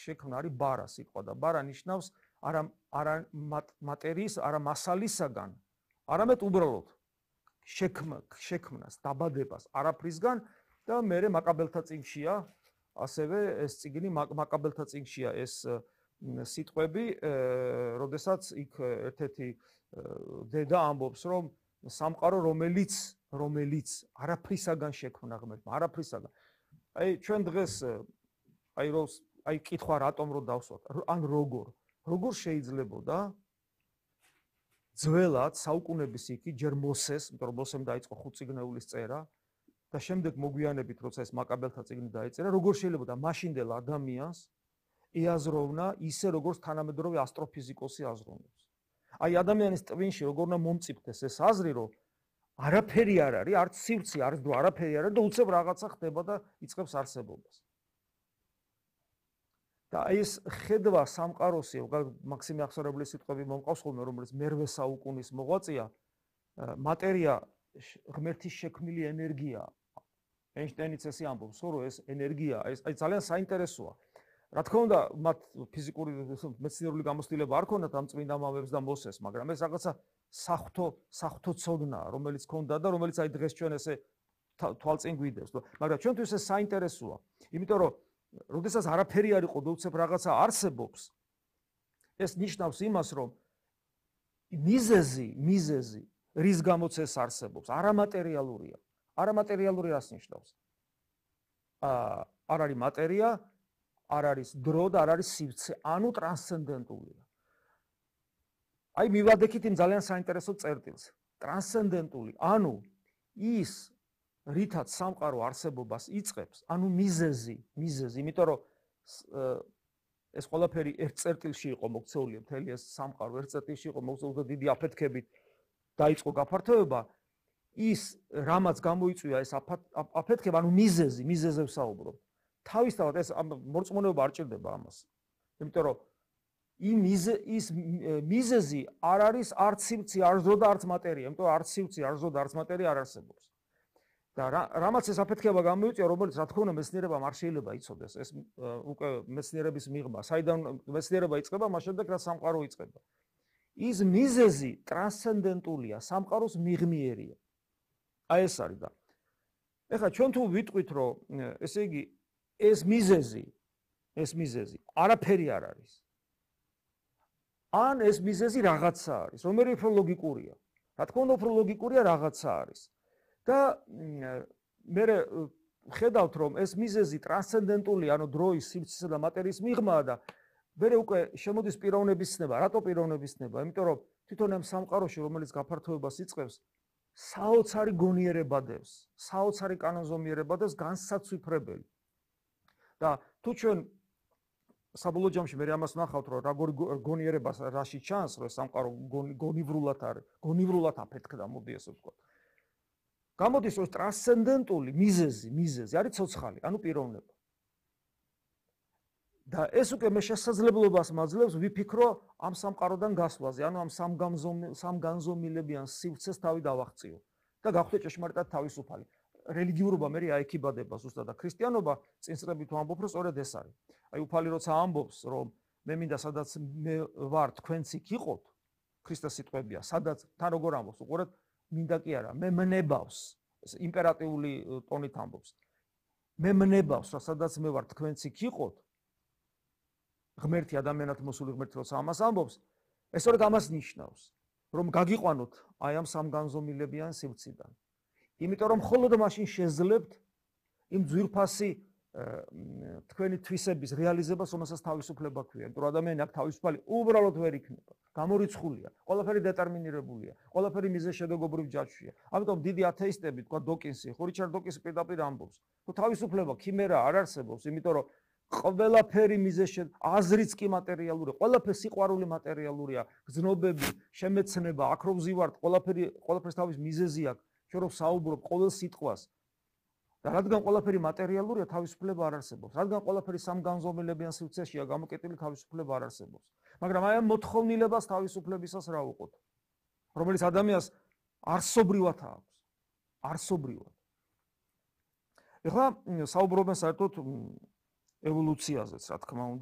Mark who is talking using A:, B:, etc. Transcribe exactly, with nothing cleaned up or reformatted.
A: შექმნა არის ბარა სიტყვა და ბარა ნიშნავს არა არა მატერიის, არა მასალისაგან, არამედ უბრალოდ შექმნა, შექმნას, დაბადებას არაფრისგან და მერე მაკაბელთა წიგნშია, ასევე ეს წიგნი მაკაბელთა წიგნშია ეს სიტყვები, როდესაც იქ ერთ-ერთი დედა ამბობს, რომ სამყარო რომელიც რომელიც არაფრისაგან შექმნა ღმერთმა, არაფრისაგან. აი ჩვენ დღეს აი რო აი კითხვა რატომ რო დავსვათ, ან როგორ, როგორ შეიძლებოდა ძველად საუკუნეების იქი ჯერ მოსეს, იმიტომ რომ მოსემ დაიწყო ხუთწიგნეულის წერა და შემდეგ მოგვიანებით როცა ეს მაკაბელთა წიგნი დაეწერა, როგორ შეიძლებოდა მაშინდელ ადამიანს ეაზროვნა ისე როგორც თანამედროვე ასტროფიზიკოსი აზროვნებს. აი ადამიანის ტვინში როგორ უნდა მომწიფდეს ეს აზრი, რომ არაფერი არ არის, არც სივრცე, არც დრო, არაფერი არ არის და უცებ რაღაცა ხდება და იწყებს არსებობას. და ეს ხედვა სამყაროსი, მაქსიმე ახსარებლის სიტყვები მომყავს ხოლმე, რომელიც მერვე საუკუნის მოღვაწეა, მატერია ღმერთის შექმნილი ენერგია. ეინშტაინიც ესე ამბობს, რომ ეს ენერგია, ეს აი ძალიან საინტერესოა. რა თქმა უნდა, მათ ფიზიკური მეცნიერული გამოცდილება არ ქონდათ ამ წმინდა მამებს და მოსეს, მაგრამ ეს რაღაცა საღვთო საღვთო ცოდნაა, რომელიც ქონდა და რომელიც აი დღეს ჩვენ ესე თვალწინ გვიდევს. მაგრამ ჩვენთვის ეს საინტერესოა, იმიტომ რომ როდესაც არაფერი არ იყო და უცებ რაღაცა არსებობს, ეს ნიშნავს იმას, რომ მიზეზი, მიზეზი, რის გამოც ეს არსებობს, არამატერიალურია. არამატერიალური რას ნიშნავს? აა არ არის მატერია, არ არის დრო და არ არის სივრცე, ანუ ტრანსცენდენტულია. აი მივადექით იმ ძალიან საინტერესო წერტილს. ტრანსცენდენტული, ანუ ის რითაც სამყარო არსებობას იწყებს, ანუ მიზეზი, მიზეზი, იმიტომ რომ ეს ყველაფერი ერთ წერტილში იყო მოქცეული, მთელი ეს სამყარო ერთ წერტილში იყო მოქცეული და დიდი აფეთქებით დაიწყო გაფართოება, ის რამაც გამოიწვია ეს აფეთქება, ანუ მიზეზი, მიზეზზე ვსაუბრობ. თავისთავად ეს მორწმუნეობა არ ჭირდება ამას. იმიტომ რომ იმ ის მიზეზი არ არის არც სივრცე, არც დრო და არც მატერია, იმიტომ რომ არც სივრცე, არც დრო და არც მატერია არ არსებობს. და რამაც ეს აფეთქება გამოიწვია, რომელიც რა თქმა უნდა მეცნიერებამ არ შეიძლება იცოდეს, ეს უკვე მეცნიერების მიღმა, საიდან მეცნიერება იწყება, მას შემდეგ რა სამყარო იწყება. ის მიზეზი ტრანსცენდენტულია, სამყაროს მიღმიერია. აი ეს არის და ეხლა ჩვენ თუ ვიტყვით, რომ ესე იგი ეს მიზეზი, ეს მიზეზი არაფერი არ არის. ან ეს მიზეზი რაღაცა არის, რომელიც უფრო ლოგიკურია. რა თქმა უნდა, უფრო ლოგიკურია რაღაცა არის. და მე ხედავთ, რომ ეს მიზეზი ტრანსცენდენტული, ანუ დროის, სივრცისა და მატერიის მიღმაა და მე უკვე შემოდის პიროვნების ცნება. რატო პიროვნების ცნება? იმიტომ რომ თვითონ ამ სამყაროში, რომელიც გაფართოებას იწყებს, საოცარი გონიერება დევს, საოცარი კანონზომიერება დევს, განსაცვიფრებელი. და თუ ჩვენ საბოლოო ჯამში მე ამას ვნახავთ, რომ როგორი გონიერება რაში ჩანს, რომ სამყარო გონივრულად არის, გონივრულად აფეთქდა, მოდი ესე ვთქვა. გამოდის, რომ ტრანსცენდენტული მიზეზი, მიზეზი არის ცოცხალი, ანუ პიროვნება. და ეს უკვე მე შესაძლებლობას მაძლევს ვიფიქრო ამ სამყაროდან გასვლაზე, ანუ ამ სამგანზომილებიან სივრცეს თავი დავაღწიო და გავხდე ჭეშმარიტად თავისუფალი. რელიგიურობა მე აიქიბადება ზუსტად და ქრისტიანობა წინსწრებით ვამბობ, რომ სწორედ ეს არის. აი უფალი როცა ამბობს, რომ მე მინდა სადაც მე ვარ, თქვენც იქ იყოთ, ქრისტეს სიტყვებია, სადაც თან როგორ ამბობს, უყურეთ, მინდა კი არა, მე მნებავს, ეს იმპერატიული ტონით ამბობს. მე მნებავს, რომ სადაც მე ვარ, თქვენც იქ იყოთ. ღმერთი ადამიანად მოსული ღმერთი როცა ამას ამბობს, ეს სწორედ ამას ნიშნავს, რომ გაგიყვანოთ აი ამ სამგანზომილებიან სივრციდან. იმიტომ რომ მხოლოდ მაშინ შეძლებთ იმ ძვირფასი თქვენი თვისების რეალიზებას, რომელსაც თავისუფლება ქვია. იმიტომ რომ ადამიანი აქ თავისუფალი უბრალოდ ვერ იქნება. გამორიცხულია, ყველაფერი დეტერმინირებულია, ყველაფერი მიზეზშედეგობრივ ჯაჭვშია. ამიტომ დიდი ათეისტები, თქვა დოკინსი, ხო რიჩარდ დოკინსი პირდაპირ ამბობს, რომ თავისუფლება ქიმერა არ არსებობს, იმიტომ რომ ყველაფერი მიზეზშედ აზრიც კი მატერიალურია, ყველაფერი სიყვარული მატერიალურია, გზნობები, შემეცნება, აქ რო ვზივართ, ყველაფერი ყველაფერს თავის მიზეზი აქვს. ჩვენ რო საუბრობ ყოველ სიტყვას და რადგან ყველაფერი მატერიალურია, თავისუფლება არ არსებობს. რადგან ყველაფერი სამგანზომილებიან სივრცეშია გამოკეტილი, თავისუფლება არ არსებობს. მაგრამ აი ამ მოთხოვნილებას თავისუფლებისას რა უყოთ, რომელიც ადამიანს არსობრივად აქვს, არსობრივად. ეხლა საუბრობენ საერთოდ ევოლუციაზეც, რა თქმა უნდა.